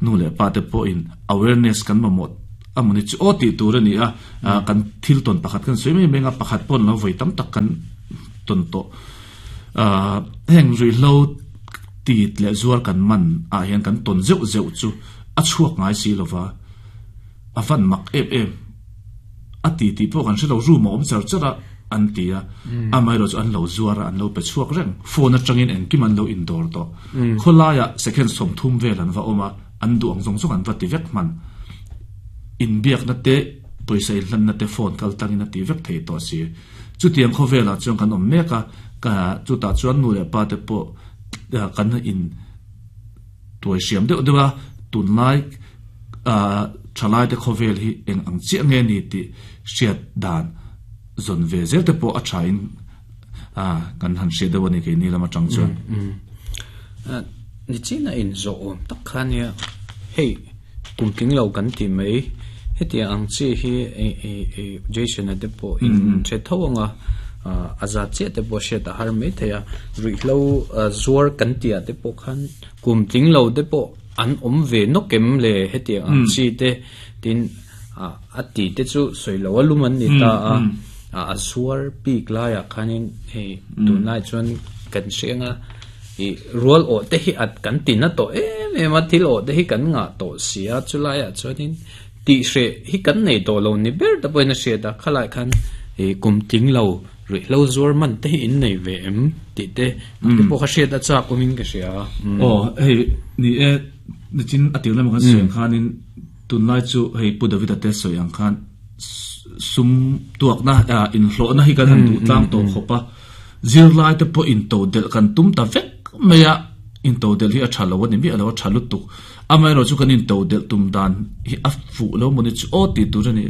Nu leh pa te pawhin awareness kan mamawh a mawni chu aw tih tur a ni a, kan thil tawn pakhat kan sawi mai mai anga pakhat pawh lo vawi tam tak kan tawn tawh. Heng ruihhlo tit leh zuar kan man ah hian kan tawn zeuh zeuh chu a chhuak ngai si lova, a van mak em em a ti tih pawh kan hre lo, room a awm char char a an ti a, amaherawh chu an lo zuar a, an lo pe chhuak reng, phone atangin engkim an lo indawr tawh, khawlaiah second 30 vel an va awm a, an duh ang zawng zawng an va ti vek hman, inbiakna te pawisa inhlanna te phone kal tlangin a ti vek thei tawh si, chutiang khawvelah chuan kan awm mek a, chutah chuan nu leh pa te pawh kan in. Tuai hriam deuh deuh a, tunlai thalaite khawvel hi eng ang chiah nge ni tih hriat dan zawn ve zel te pawh a thain kan han hriat deuh a ni keini lam atang chuan. Nichin a inzawh awm tak kha nia, hei kum tling lo kan ti mai, hetiang ang chi hi Jason-a te pawh in hre tho ang a, a zat chiah te pawh hriat a har mai thei a, ruihhlo zuar kan tih ah te pawh khan kum tling lo te pawh an awm ve nawk em le hetiang ang chi te tin a ti te chu sawi lo a lum an ni ta a, a zuar bik laiah khanin hei tunlai chuan kan hriang a ih rual awh te hi at kan ti na tawh em em a thil awh te hi kan ngah tawh si a chulaiah chuanin tih hreh hi kan nei tawh lo ni ber te pawhin a hriat a khalai khan ih kum tling lo ruihhlo zuar man te hi in nei ve em tih te te pawh kha hriat a chak awmin ka hria a. Aw hei ni e nichin a tir lamah kan sawi ang khanin tunlai chu hei Pu David-a te sawi ang khan sum tuakna inhlawhna hi kan han duh tlang tawh khawp a. Zirlai te pawh into delh kan tum ta vek mai a, into delh hi a tha lo a ni miah lo, a tha lutuk. Amaherawh chu kan into delh tum dan hi a fuh lo maw ni chu aw tih tur a ni.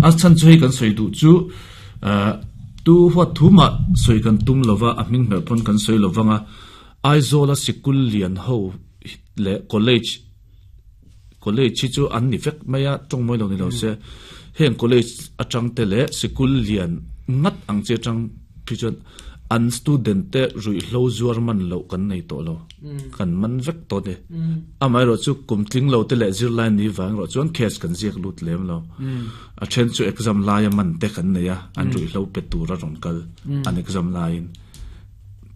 A chhan chu hei kan sawi duh chu tu huat thu mah sawi kan tum lo va, a hming hmelh pawn kan sawi lo vang a, Aizawla sikul lian ho leh college, college hi chu an ni vek mai a, tawng mawi lo ni lo se, heng college atang te leh sikul lian ngat ang chi atang phei chuan an student te ruihhlo zuar man loh kan nei tawh lo, kan man vek tawh a ni. Amaherawh chu kum tling lo te leh zirlai ni vang erawh chuan case kan ziak lut lem lo. A then chu exam laia man te kan nei a, an ruihhlo pe tur a rawn kal an exam laiin.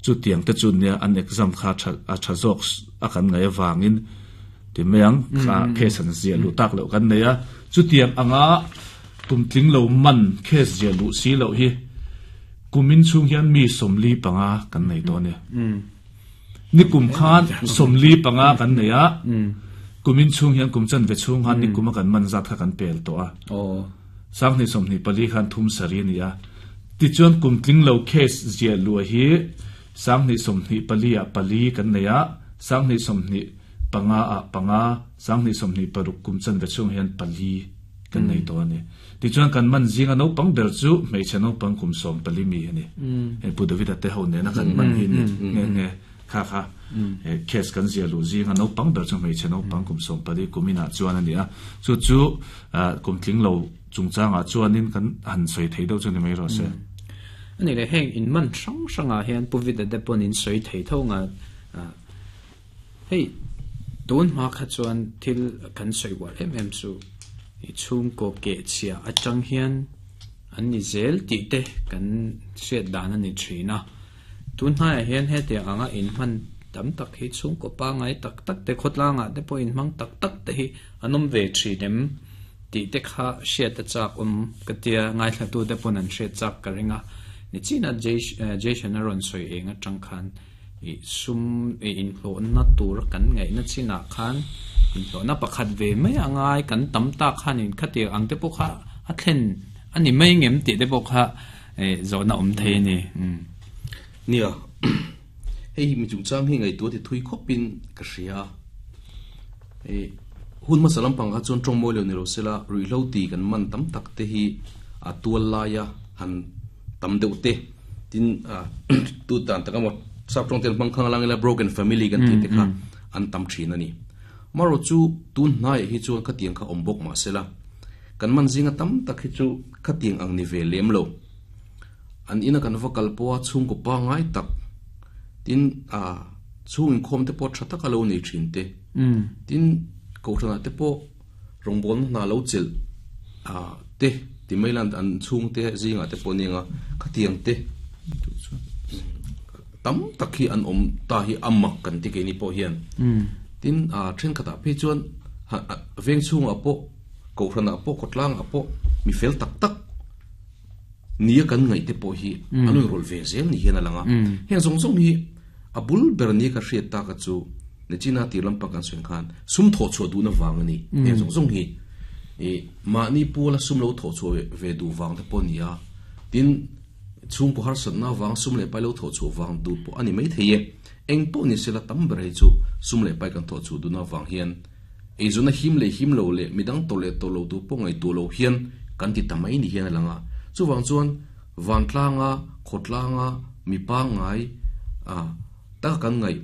Chutiang te chu nia an exam kha tha a tha zawk a kan ngaih avangin ti mai ang kha case an ziah luh tak loh kan nei a, chutiang anga kum tling lo man case ziah luh si loh hi kumin chhung hian mi 45 kan nei tawh a ni. Ni kum khan 45 kan nei a, kumin chhung hian kum chanve chhung khan ni kuma kan man zat kha kan pel tawh a. 2024 khan thum sari a ni a. Tichuan kum tling lo case ziah luah hi 2024 ah pali kan nei a, 2025 ah panga, 2026 kum chanve chhung hian pali kan nei tawh a ni. Tichuan kan man zinga naupang ber chu hmeichhe naupang kum 14 mi a ni. Hei Pu David-a te ho nena kan man hi ni nghe nghe kha kha case kan ziah luh zinga naupang ber chu hmeichhe naupang kum 14 kum inah chuan a ni a. Chu chu kum tling lo Chungchangah chuanin kan han sawi thei deuh chu ni mai rawh se. A ni leh, heng in man hrang hrangah hian Pu Vida te pawn in sawi thei tho nga, hei tun hma kha chuan thil kan sawi uar em em chu i chhungkaw keh chhia atang hian an ni zel tih te kan hriat dan a ni thin a. Tun hnaiah hian hetiang anga in hman tam tak hi chhungkaw pangngai tak tak te khawtlangah te pawh in hmang tak tak te hi an awm ve thin em? Tih te kha hriat a chak awm ka tia, ngaithlatu te pawn an hriat chak ka ring a. Nichina Jason a rawn sawi eng atang khan ih sum ih inhlawhna tur kan ngaihna chinah khan inhlawhna pakhat ve mai a ngai kan tam tak khanin khatiang ang te pawh kha a thlen a ni mai ngem tih te pawh kha ih zawhna awm thei a ni. Nia, hei mi chungchang hi ngaihtuah ti thui khawpin ka hria a. Hei hun hmasa lampang kha chuan tawng mawi lo ni lo sela ruihhlo ti kan man tam tak te hi a tual laia han tam deuh te tin tu dan tak emaw sap tawng ten hmang khang lang ila broken family kan tih te kha an tam thin a ni. Amaherawh chu tun hnaiah hi chuan khatiang kha awm bawk mah sela kan man zinga tam tak hi chu khatiang ang ni ve lem lo. An ina kan va kal pawha chhungkaw pangngai tak tin chhung inkhawm te pawh tha taka lo nei thin te. Tin, Kohhranah te pawh rawngbawlna hna lo chelh te ti mai lan an chhungte zingah te pawh nia khatiang te tam tak hi an awm ta hi a mak kan ti keini pawh hian. Tin, thenkhatah phei chuan veng chhungah pawh kohhranah pawh khawtlangah pawh mi fel tak tak nia kan ngaih te pawh hi an rawn rawlh ve zel ni hian a lang a. Heng zawng zawng hi a bul ber nia ka hriat tak a chu Nichina tir lampang kan sawi ang khan sum thawh chhuah duhna vang a ni. Heng zawng zawng hi ih mahni puala sum lo thawh chhuah ve duh vang te pawh a ni a. Tin, chhungkaw harsatna vang sum leh pai lo thawh chhuah vang duh pawh a ni maithei e. Eng pawh ni sela tam ber hi chu sum leh pai kan thawh chhuah duhna vang hian Eizawnna him leh him lo leh midang tawrh leh tawrh lo tur pawh ngaihtuah lo hian kan ti ta mai ni hian a lang a. Chuvang chuan vantlanga, khawtlanga, mi pangngai a taka kan ngaih,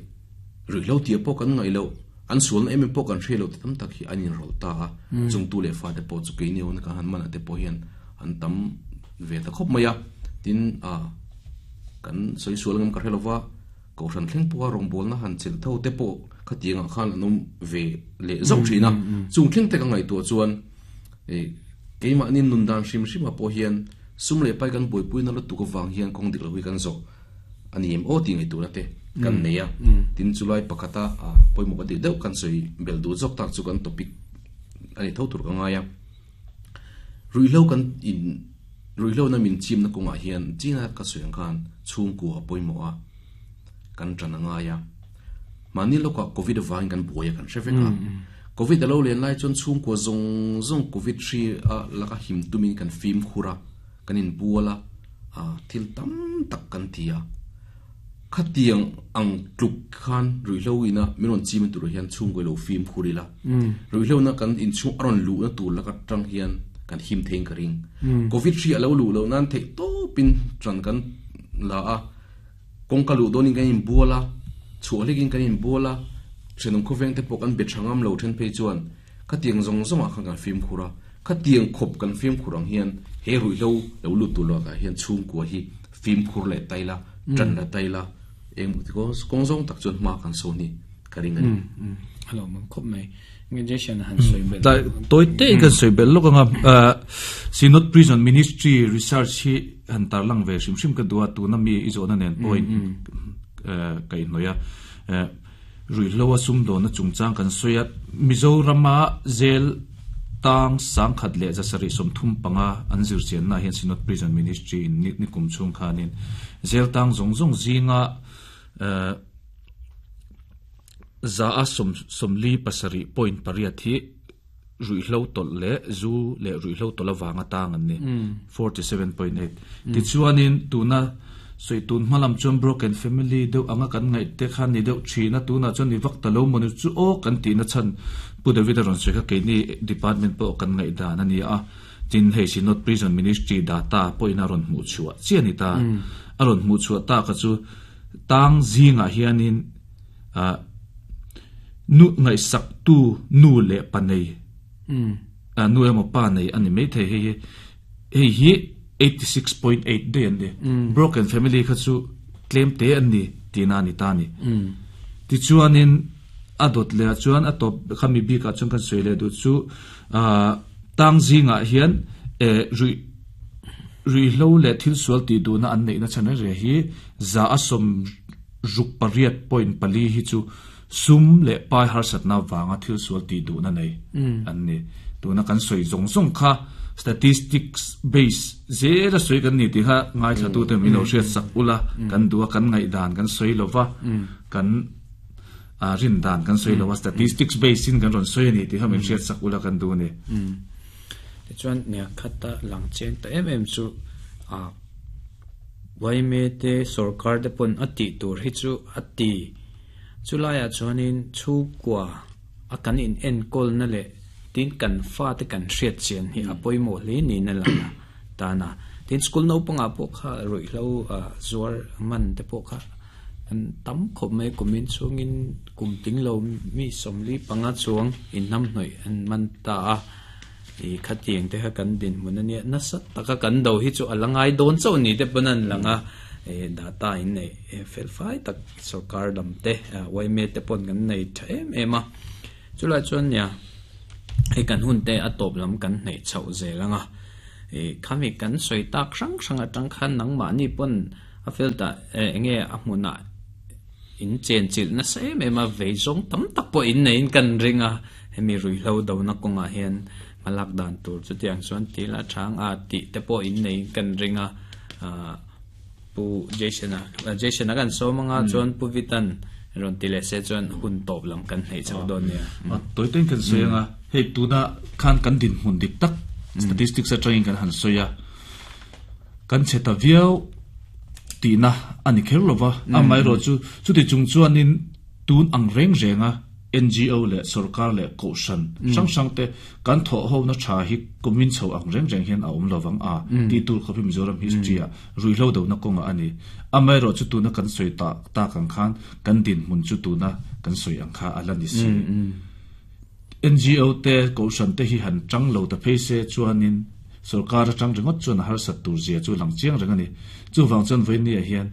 ruihhlo tih pawh kan ngaih loh, an sualna em em pawh kan hriat loh ti tam tak hi an inrawlh ta a. Chungtu leh fate pawh chu keini awna kan han man ah te pawh hian an tam ve ta khawp mai a. Tin, a kan sawi sual ngam ka hre lova. Kohhran thleng pawha rawngbawlna han chelh tho te pawh khatiangah khan an awm ve leh zauh thin a. Chung thleng te ka ngaihtuah chuan keimahni nun dan hrim hrimah pawh hian sum leh pai kan buaipuina lutuk avang hian kawng dik lo hi kan zawh a ni em aw tih ngaihtuahna te kan nei a. Tin, chulai pakhata pawimawh ka tih deuh kan sawi belh duh zawk tak chu kan topic a ni tho tur ka ngai a. Ruihhlo kan in ruihhlo na min chimna kawngah hian china ka sawi ang khan chhungkua a pawimawh a, kan tan a ngai a. Mahni lawkah Covid avangin kan buai a kan hre vek a. Covid a lo len lai chuan chhungkua zawng zawng Covid hri a laka him tumin kan fimkhur a, kan inbual a, thil tam tak kan ti a. Khatiang ang tluk khan ruihhlo ina min rawn chim tur hian chhungkaw ilo fimkhur ila. Ruihhlo na kan inchhung a rawn luhna tur laka tang hian kan him theiin ka ring. Covid hri a lo luh loh nan theih tawpin ṭan kan la a, kawngka luh dawnin kan inbual a, chhuah hlekin kan inbual a, ṭhenawm khawveng te pawh kan be ṭha ngam lo ṭhen phei chuan khatiang zawng zawngah khan kan fimkhur a. Khatiang khawp kan fimkhur ang hian he ruihhlo lo lut tur lakah hian chhungkua hi fimkhur leh ta ila, ṭan la ta ila, eng kawng zawng tak chuan hma kan sawn hi ka ring a ni. A lo mang khawp mai. Injection han sawi belh. Tawi te in kan sawi belh lawk anga Synod Prison Ministry research hi han tarlang ve hrim hrim ka duh a, tuna mi i zawhna nen pawh in ka inhnawih a. Ruihhlo a sumdawnna chungchang kan sawi a, Mizorama zel tang 1735 an zirchianna ah hian Synod Prison Ministry in ni kum chhung khanin zel tang zawng zawng zinga za a 47.8 hi ruihhlo tawlh leh zu leh ruihhlo tawlh avanga tang an ni, 47.8. Tichuanin tuna sawi tun hma lam chuan broken family deuh anga kan ngaih te kha ni deuh thin a, tunah chuan ni vak ta lo maw ni chu aw kan tihna chhan Pu David a rawn sawi kha keini department pawh kan ngaih dan a ni a, tin hei Synod Prison Ministry data pawhin a rawn hmuh chhuah chiah a ni ta. A rawn hmuh chhuah tak kha chu tang zingah hianin ah nu ngaihsak tu nu leh pa nei ah nu emaw pa nei a ni maithei hei hi hei hi 86.8 daih an ni broken family kha chu tlem te an ni tihna a ni ta a ni tichuanin a dawt leh ah chuan a tawp khami bik ah chuan kan sawi leh duh chu ah tang zingah hian eh ruih ruihhlo leh thil sual tih duhna an neihna chhan reng reng hi za a sawm Ruk pariat point pali hi chu sum leh pai harsatna vanga thil sual tih duhna nei an ni. Tuna kan sawi zawng zawng kha statistics base zela sawi kan ni tih kha ngaithlatute min lo hriat sak ula, kan duh a, kan ngaihdan kan sawi lo va, kan rin dan kan sawi lo va, statistics base in kan rawn sawi a ni tih kha min hriat sak ula kan duh a ni. Tichuan, nia khata lang chiang ta em em chu Yma te sorkar te pawn a tih tur hi chu a ti. Chulaiah chuanin chhungkua a kan in enkawlna leh tin kan fate kan hriat chian hi a pawimawh hle niin a lang a tan a. Tin school naupangah pawh kha ruihhlo zuar man te pawh kha an tam khawp mai kumin chhungin kum tling lo mi 45 chuang inhnamhnawih an man ta a. I khatiang te kha kan dinhmun a nia, nasa taka kan do hi chu a la ngai dawn chauh ni te pawn an lang a, i data in nei fel fai tak sorkar lam te yma te pawn kan nei tha em em a, chulai chuan nia. Hei kan hun te a tawp lam kan hnaih chhoh zel ang a, ih khami kan sawi tak hrang hrang atang khan nangmahni pawn a field ah eng nge a hmunah in chen chilh nasa em em a, vei zawng tam tak pawh in neiin kan ring a, hemi ruihhlo dona kawngah hian hmalak dan tur chutiang chuan til a chang a tih te pawh in neiin kan ring a, ah Pu Jason-a Jason-a kan sawm anga chuan Pu Vitan rawn ti leh se chuan hun tawp lam kan hneih chho dawn nia. A tawi tawiin kan sawi anga hei tuna khan kan dinhmun dik tak statistics atangin kan han sawi a, kan chhe ta viau tihna a ni kher lova, amaherawh chu chuti chung chuanin tun ang reng renga NGO leh sorkar leh kohhran hrang hrang te kan thawh ho na tha hi kumin chho ang reng reng hian a awm lovang a tih tur khawp hi Mizoram history ah ruihhlo dohna kawngah a ni. Amaherawh chu tuna kan sawi tak tak ang khan kan dinhmun chu tuna kan sawi ang kha a la ni si. NGO te kohhran te hi han tang lo ta phei se chuanin sorkar atang ringawt chuan a harsat tur zia chu lang chiang reng a ni. Chuvang chuan vawinia hian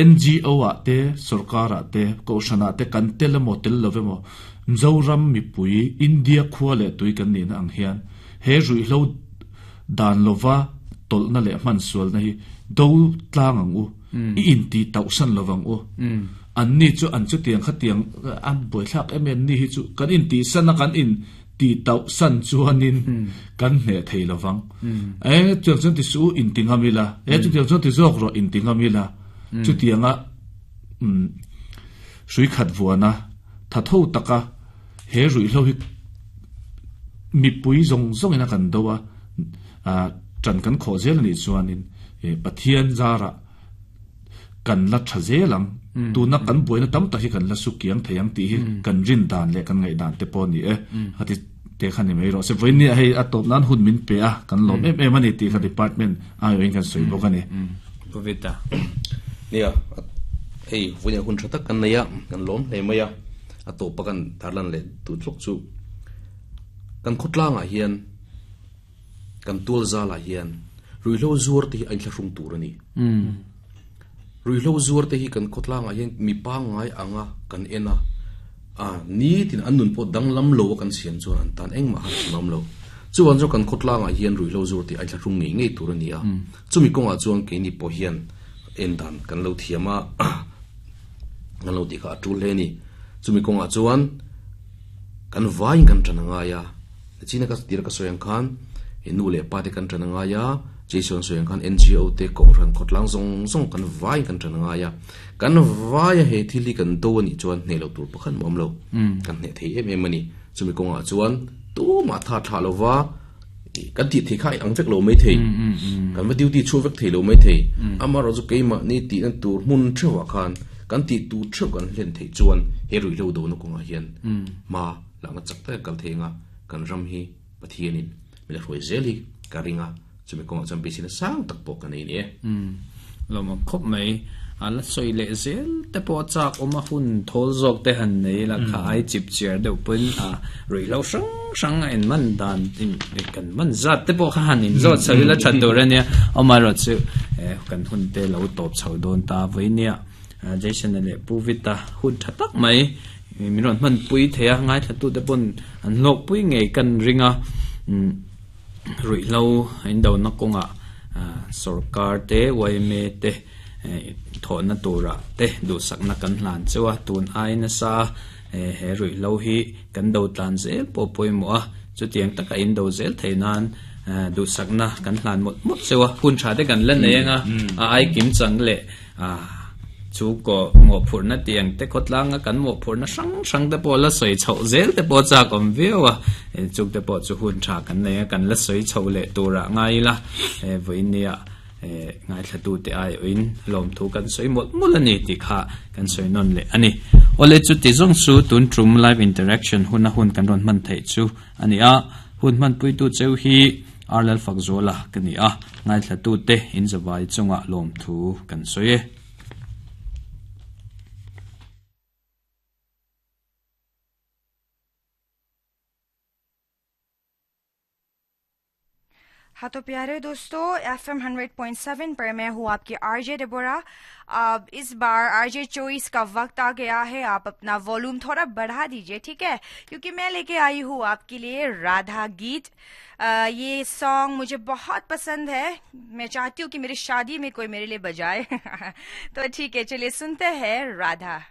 NGO ah te, sorkar ah te, kohhran ah te kan tel emaw tel lo emaw Mizoram mipui India khua leh tui kan nihna ang hian he ruihhlo dan lova tawlhna leh hmansualna hi do tlang ang u, i inti tauhsan lovang u. Anni chu an chutiang khatiang an buaithlak em em ni hi chu kan intihsan a kan in tih tauh san chuanin kan hneh thei lovang. E chutiang chuan ti suh u inti ngam ila, e chutiang chuan ti zawk rawh inti ngam ila. Chutianga hrui khat vuana tha tho taka he ruihhlo hi mipui zawng zawngin a kan do a, ṭan kan khawh zel anih chuanin Pathian zarah kan la tha zel ang, tuna kan buaina tam tak hi kan la su kiang thei ang tih hi kan rin dan leh kan ngaih dan te pawh a ni e. Khati te kha ni mai rawh se. Vawiin hei a tawp nan hun min pe a, kan lawm em em a ni tih kha department aiawhin kan sawi bawk a ni. Pu Vita. Nia, hei vawiin hun tha tak kan nei a, kan lawm hle mai a, a tawpa kan tarlan leh duh tluk chu kan khawtlangah hian Kan tual zalah hian ruihhlo zuar te hi a inthlahrung tur a ni. Ruihhlo zuar te hi kan khawtlangah hian mi pangngai anga kan en a, a nitin an nun pawh danglam lo a kan siam chuan an tan engmah han hrim awm lo. Chuvang chuan kan khawtlangah hian ruihhlo zuar te hi a inthlahrung ngei ngei tur a ni a. Chumi kawngah chuan keini pawh hian en dan kan lo thiam a, kan lo tih kha a tul hle a ni. Chumi kawngah chuan kan vaiin kan tan a ngai a. China ka tir ka sawi ang khan i nu leh pa te kan ṭan a ngai a, Jason sawi ang khan NGO te Kohhran khawtlang zawng zawng kan vaiin kan ṭan a ngai a, kan vaia he thil hi kan do a nih chuan hneh loh tur pakhat mah awm lo, kan hneh thei em em a ni. Chumi kawngah chuan tumah tha thlah lova kan tih theih kha a inang vek lo mai thei, kan va duty chhuak vek thei lo mai thei, amaherawhchu keimahni tihna tur hmun theuhah khan kan tih tur theuh kan hlen theih chuan he ruihhlo dona kawngah hian hma Hlauhna chak taka kal thei anga kan ram hi Pathianin min la hruai zel hi ka ring a, chumi kawngah chuan beiseina sang tak pawh ka nei a ni e. Umm, lawmawm khawp mai. A la sawi leh zel te pawh a chak awm a, hun thawl zawk te han nei ila kha ai chip chiar deuh pawhin a ruihhlo hrang hrang a inman dan kan man zat te pawh kha han inzawt chho ila that tur a nia. Amaherawhchu kan hun te lo tawp chho dawn ta vawinia Jason-a leh Pu Vita hun tha tak mai Min rawn hmanpui thei a, ngaithlatute pawn an hlawkpui ngei kan ring a, ruihhlo indona kawngah sorkar te yma te thawhna turah te duhsakna kan hlan cheu a, tun ai nasa he ruihhlo hi kan do tlan zel pawh pawimawh a, chutiang taka indo zel thei nan duhsakna kan hlan mawlh mawlh cheu a, hun tha te kan la nei ang a, a ai kim chang leh. Chu kaw mawhphurhna tih ang te khawtlanga kan mawhphurhna hrang hrang te pawh la sawi chhoh zel te pawh chak awm viau a, chuk te pawh chu hun tha kan nei a, kan la sawi chho leh turah ngai ila, vawiin-nia ngaithlatute aiawhin lawmthu kan sawi mawlh mawlh a ni tih kha kan sawi nawn leh a ni. Awle chuti zawng chu tun tum live interaction huna hun kan rawn hman theih chu a ni a, hun hmanpuitu cheu hi Ar Lalfakzuala ka ni a, ngaithlatute inzavai chungah lawmthu kan sawi e. हाँ तो प्यारे दोस्तों, एफएम 100.7 पर मैं हूँ आपकी RJ Deborah. अब इस बार आरजे चॉइस का वक्त आ गया है। आप अपना वॉल्यूम थोड़ा बढ़ा दीजिए, ठीक है, क्योंकि मैं लेके आई हूँ आपके लिए राधा गीत। ये सॉन्ग मुझे बहुत पसंद है। मैं चाहती हूँ कि मेरी शादी में कोई मेरे लिए बजाए। तो ठीक है, चलिए सुनते हैं राधा।